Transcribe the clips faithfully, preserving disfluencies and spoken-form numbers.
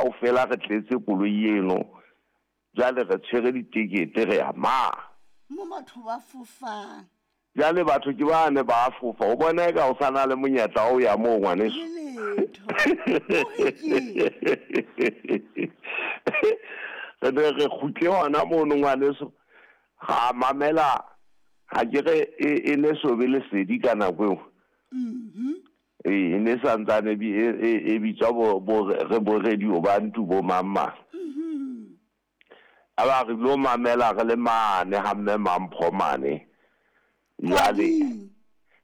Kaofela re tletse koloi eno. Jwale re tshwere ditekete re ya ma. Mo batho ba fofang. Jwale batho ke bane ba fofa. O bona eka o sa na le monyetla wa ho ya moo ngwaneso. Le letho. O re keng? Re ne re kgutle hona mono ngwaneso. Ra mamela ha ke re e, e ne so be lesedi ka nako eo. Mhm. Ee, e ne santsane e, e, e bitswa bo, bo, re bo radio ba ntu bo mang mang. Mhm. A ba re lo mamela re le mane ha mme Mampho mane. Jwale Kwading.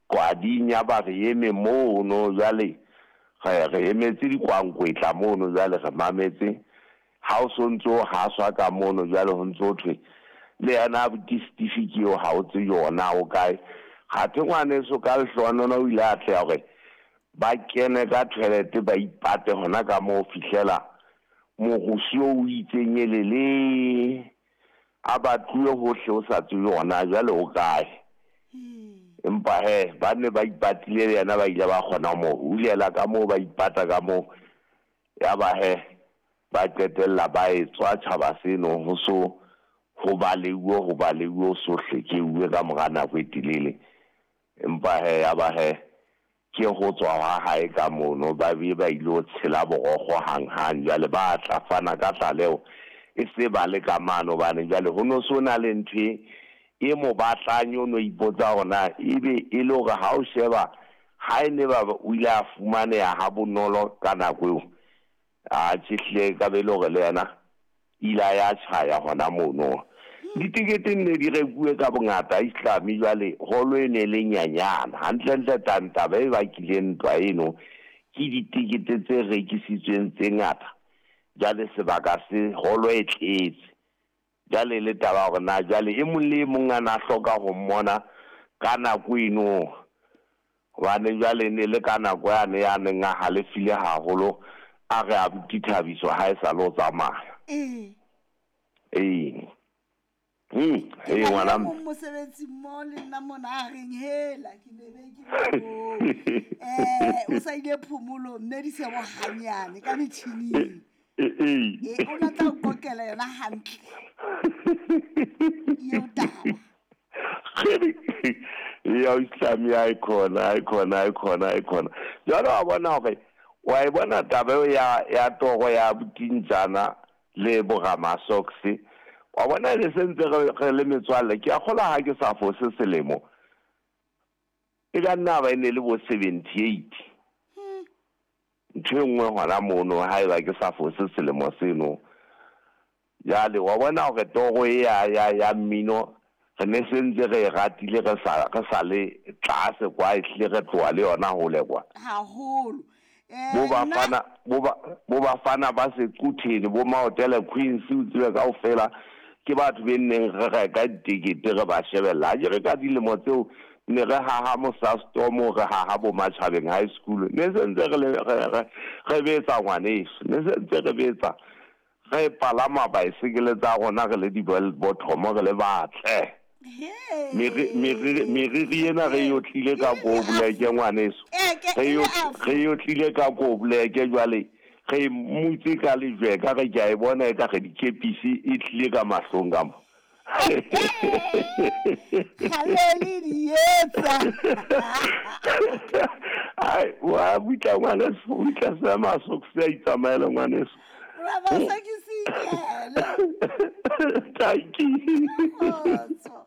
Kwading ya ba re eme mono jwale re re emetse dikwankwetla mono jwale re mametse. Ha o so ntso haswa ka mono jwale ho ntso thwe le yena abuti Steve ke eo ha o tsebe yona o kae. Kgathe ngwaneso ka lehlohonolo o ile a atleha hore ba kene ka toilet ba ipate hona ka moo fihlela morusu o itseng elele a batluwe hohle o sa tsebe hona jwale o kae. Empa he ba ne ba ipatile le yena ba ile ba kgona ho mo hulela ka moo ba ipata ka moo. Ya ba he ba qetella ba etswa tjhaba seno ho so ho baleuwe ho baleuwe ho so hlekeuwe ka mora nako e telele. Empa he ya ba he ke ho tswa ha hae ka mono ba be ba ile ho tshela borokgo hanghang. Jwale ba tla fana ka tlaleho e se ba le ka mane hobane jwale ho no so na le ntho e e mo batlang o no ipotsa hore na ebe e le hore ha o sheba ha e ne ba o ile a fumaneha ha bonolo ka nako eo. A tjhe ka be le hore le yena ile a ya tjhaya hona mono. Ditekete ne di rekuwe ka bongata Islami jwale holo e ne le nyanyana. Hantlentle taba e bakileng ntwa eno ke ditekete tse rekisitsweng tse ngata. Jwale sebaka se holo e tletse. Jwale le taba hore na jwale e mong le e mong a na hloka ho mmona ka nako eno. Hobane jwale ne le ka nako yane ya neng a halefile haholo a re abuti Thabiso ha e sa le o tsamaya. Ee. Ee. Hmm, Ke ee na le ngwana e mong mosebetsi mmoho le nna mona a reng hela ke be be ke le moo. Eh, o sa ile phomolong mme di se bo hanyane ka metjhining. Ee. Ee, o na tla o qoqela yona hantle. Eo taba. Ya Islami ya khona, ai khona, ai khona, ai khona. Jwale wa bona hore wa e bona taba eo ya ya toro ya botintjana le boramasoks. Wa bona le sentse re re le metswalle ke a kgola ha ke sa fose selemo. E ka nna ba e ne le bo seventy-eight. Ntho e nngwe hona mono haeba ke sa fose selemo seno. Jwale wa bona hore toro e ya ya ya mmino re ne sentse re e ratile re sa re sa le tlase kwa ehlile re tloha le yona hole kwa. Haholo. Eh, Bo nna bafana bo ba bo bafana ba Sequtheni bo Maotele Queens o tsebe kaofela ke batho be neng re reka ditekete re ba shebella. Ha ke re ka dilemo tseo ne re haha Mosastorm re haha bo Matjhabeng High School. Ne sentse re le re re re betsa ngwaneso. Ne sentse re betsa re palama baesekele tsa rona re le di-bell bottom re le batle. He. Meriri meriri ena re yotlile ka ko boleke ngwaneso. Eh, ke Re e yo le afro. re yotlile ka ko boleke jwale re mutse ka lejwe ka re ke a e bona e ka re dikepisi e tlile ka mahlong ka mo. Kgale le di etsa. Ai, wa butla ngwaneso, o tla se masokisi a itsamaele ngwaneso. Ramasokisi ikele. Thank you. Kgotso.